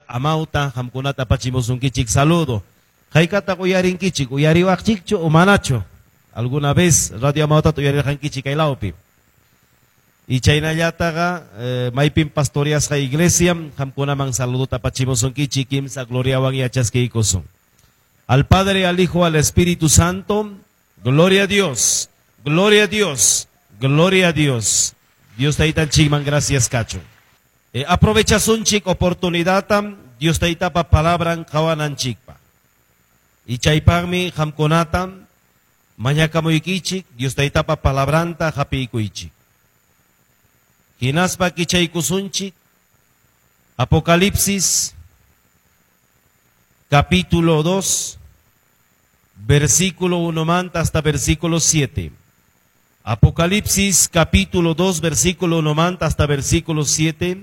Amauta qamkunata apachimusunkichik saludo. Haykataq uyarinkichik, uyariwaqchikchu o manachu? Alguna vez Radio Amautata uyarirqankichik kay lawpi. Y chaynallataqa maypim pastoreasqa iglesia qamkunaman saludota apachimusunkichik kimsa gloriawan yachaskiykusun. Al Padre, al Hijo, al Espíritu Santo, gloria a Dios, gloria a Dios, gloria a Dios. Dios taytanchikman gracias kachun. Aprovechasunchik oportunidadtam Dios taytapa palabran qawananchikpa. Y chaypaqmi qamkunatam mañakamuykichik Dios taytapa palabranta hapiykuychik. Hinaspa kichaykusunchik Apocalipsis capítulo 2, versículo 1 manta hasta versículo 7. Apocalipsis capítulo 2, versículo 1 manta hasta versículo 7.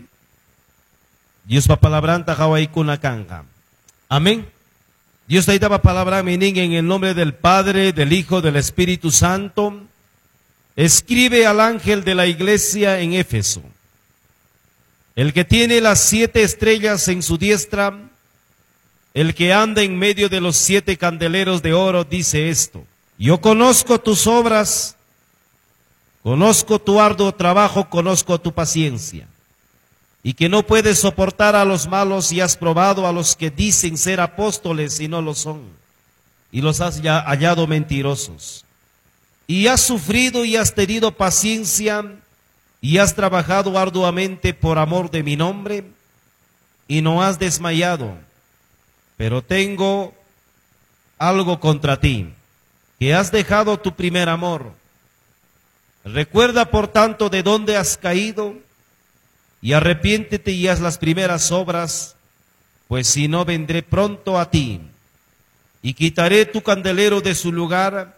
Diospa palabranta qawaykuna kanqa. Amén. Dios taytapa palabra nin en el nombre del Padre, del Hijo, del Espíritu Santo. Escribe al ángel de la iglesia en Éfeso, el que tiene las 7 estrellas en su diestra, el que anda en medio de los 7 candeleros de oro, dice esto: yo conozco tus obras, conozco tu arduo trabajo, conozco tu paciencia, y que no puedes soportar a los malos, y has probado a los que dicen ser apóstoles y no lo son, y los has ya hallado mentirosos. Y has sufrido y has tenido paciencia, y has trabajado arduamente por amor de mi nombre, y no has desmayado. Pero tengo algo contra ti, que has dejado tu primer amor. Recuerda, por tanto, de dónde has caído, y arrepiéntete y haz las primeras obras, pues si no vendré pronto a ti, y quitaré tu candelero de su lugar,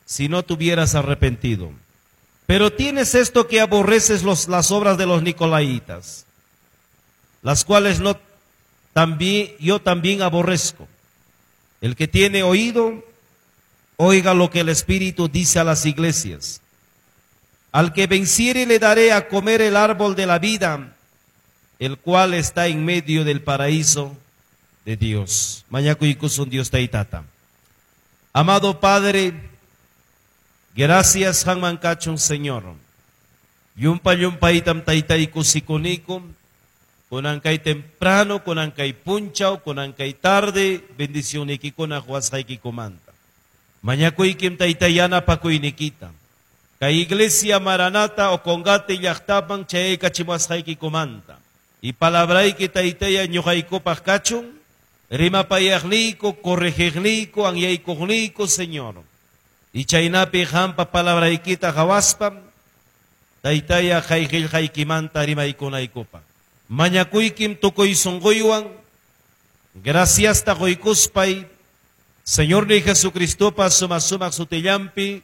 si no te hubieras arrepentido. Pero tienes esto, que aborreces las obras de los nicolaitas, las cuales no también, yo también aborrezco. El que tiene oído, oiga lo que el Espíritu dice a las iglesias. Al que venciere le daré a comer el árbol de la vida, el cual está en medio del paraíso de Dios. Mañakuykusun Dios taytata. Amado Padre, gracias qamman kachun Señor. Llumpa llumpaytam taytayku sikuniku, kunan kay temprano, kunan kay punchaw, kunan kay tarde, bendicionnikikuna quwasqaykikumanta. Mañakuykim taytay yanapakuynikita. Kay iglesia Maranata Ocongate llaqtaman chayaykachimuwasqaykikumanta. Y palabrayki taytaya ñuqaykupaq kachun, rimapayaqniyku, corregiqniyku, anyaykuqniyku, Señor. Y chaynapi qampa palabraykita qawaspam, taytaya kay qillqaykimanta rimaykunaykupaq. Mañakuykim tukuy sunquywan, graciasta quykuspay, Señor ni Jesucristopa suma sumaq sutillampi,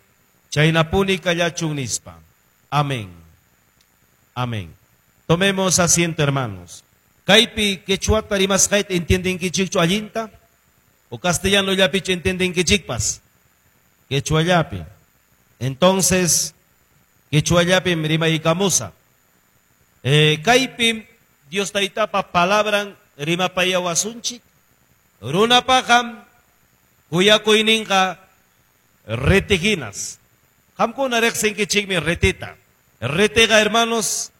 chaynapuni kallachun nispa. Amén. Amén. Tomemos asiento, hermanos. Kaypi quechuata rimasqayta entiendenkichikchu allinta? O castellano llapichu entiendenkichikpas? Quechuallapi. Entonces, quechuallapim rimaykamusa. Kaypim Dios taytapa palabran rimapayawasunchik. Runapaqam kuyakuyninqa retijinas. Qamkuna riqsinkichikmi retita. Retiqa, hermanos,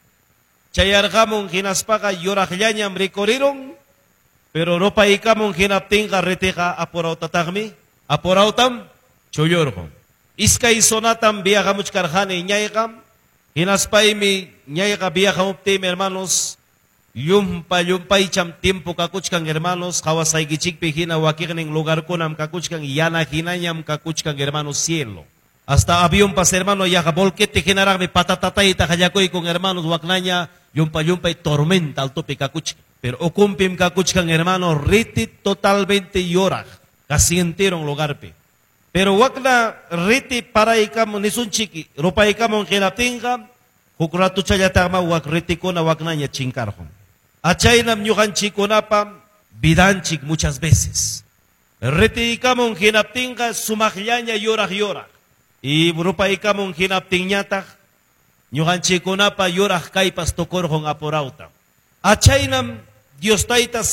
chayarqamun hinaspaqa yuraqllañam rikurirun, pero rupaykamun hinaptinqa retiqa apurawtataqmi, apurawtam chullurqun. Iskay zonatam viajamuchkarqani ñayqa, hinaspaymi ñayqa viajamuptiymi, hermanos, llumpa llumpaycham tiempo kakuchkan, hermanos, qawasaykichikpi hina wakiqnin lugarkunam kakuchkan, yana hinañam kakuchkan, hermanos, cielo. Hasta avión pas, hermano, yaqa volquete hinaraqmi patatatayta qallakuykun, hermanos, waknaña llumpa llumpay tormenta altopi kakuchkan. Pero ukumpim kakuchkan, hermano, riti totalmente yoraq, casi entero en lugarpi. Pero wakna riti paraykamun nisunchiki, rupaykamun hinaptinqa, huk ratuchallataqma wak ritikuna waknaña chinkarqun. Achaynam ñuqanchikkunapa vidanchik muchas veces. Ritiykamun hinaptinqa sumaqllaña yoraq yoraq. Y rupaykamun hinaptinñataq ñuqanchikkunapa yoraq kaypas tukurqun apurawta. Achaynam Dios tayta